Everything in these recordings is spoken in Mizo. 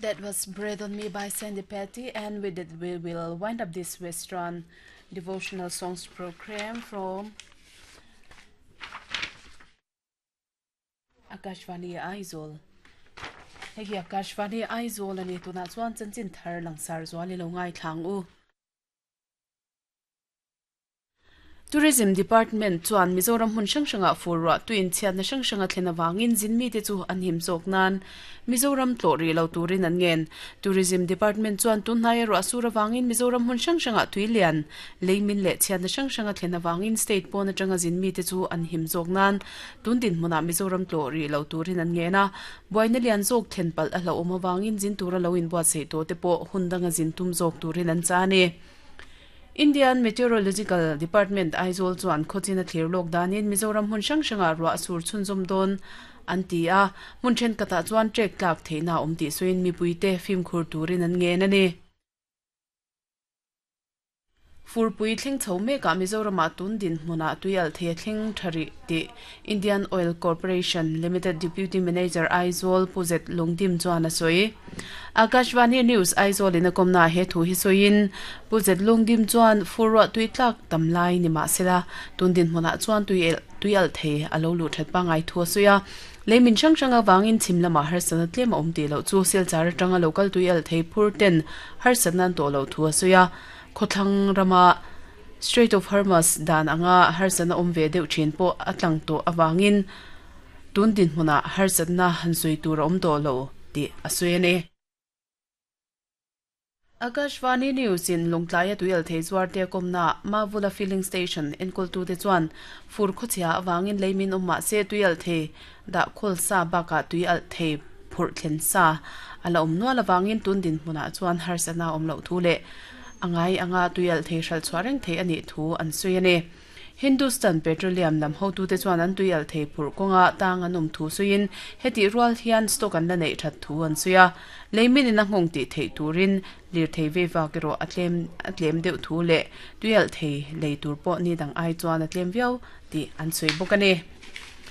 That was Breathe on Me by Sandy Patty and with it we will wind up this Western devotional songs program from Akashvani Aizawl. Hei hi Akashvani Aizawl ani tunah chuan chanchin thar langsar zual i lo ngaithlang u. Tourism Department chuan Mizoram hmun hrang hrangah fur ruah tuiin chhiatna hrang hrang a thlen avangin zin mite chu an him zawk nan Mizoram tlawh rih lo turin an ngen. Tourism Department chuan tunhnaia ruah sur avangin Mizoram hmun hrang hrangah tui lian, leimin leh chhiatna hrang hrang a thlen avangin state pawn atanga zin mite chu an him zawk nan tun dinhmunah Mizoram tlawh rih lo turin an ngen a. Buaina lian zawk thlen palh a hlauhawm avangin zin tura lo inbuatsaih tawh te pawh hun danga zin tum zawk turin an cha a ni. Indian Meteorological Department Aizawl chuan khawchin a thlir lawk danin Mizoram hmun hrang hrangah ruah a sur chhunzawm dawn an ti a, hmun thenkhatah chuan trek tlak theihna a awm tih sawiin mipuite fimkhur turin an ngen a ni. Furpui thleng chho mekah Mizoramah tun dinhmunah tui alh thei a thleng tha rih tih Indian Oil Corporation Limited Deputy Manager Aizawl Pu Zet Lungdim chuan a sawi. Akashvani News Aizawl in a kawmnaah he thu hi sawiin Pu Zet Lungdim chuan fur ruah tui tlak tam lai ni mah sela tun dinhmunah chuan tui elh tui alh thei a lo luh that pangngai thu a sawi a. Lei min hrang hrang avangin chhim lamah harsatna tlem a awm tih loh chu Silchar atanga lo kal tui alh thei phur ten harsatna an tawh loh thu a sawi a. Khawthlang rama Strait of Hormuz dan anga harsatna awm ve deuh thin pawh a tlang tawh avangin tun dinhmunah harsatna han sawi tur a awm tawh lo tih a sawi a ni. Akashvani News in Lawngtlaia tuial thei zuarte a kawmnaah Mavula Filling Station enkawltute chuan fur khawchhia avangin leimin awm mah se tuial thei dah khawl sa bakah tui alh thei phurh thlen sa a la awm nual avangin tun dinhmunah chuan harsatna a awm loh thu leh a ngai anga tui alh thei hralh chhuah reng thei a nih thu an sawi a ni. Hindustan Petroleum lam hotute chuan an tui alh thei phurh kawnga tang an awm thu sawiin hetih rual hian stock an la neih that thu an sawi a, leimin in a nghawng tih theih turin lirthei vei vak erawh a tlem a tlem deuh thu leh tui alh thei lei tur pawh ni dang ai chuan a tlem viau tih an sawi bawk a ni.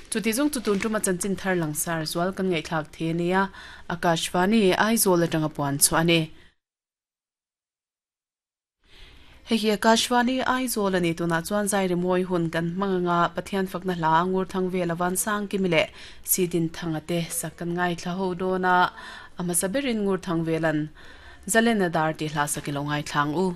Chuti zawng chu tun tuma chanchin thar langsar zual kan ngaihthlak thei a nia, Akashvani Aizawl atanga puan chhuah a ni. Hei hi Akashvani Aizawl a ni. Tunah chuan zai rimawi hun kan hmang anga Pathian fakna hla ngur thang vel avan sang kimi leh Sidin thanga te sak kan ngaithla ho dawn a, a hmasa berin ngur thang velan Zalena dar tih hla sak i lo ngaithla ang u.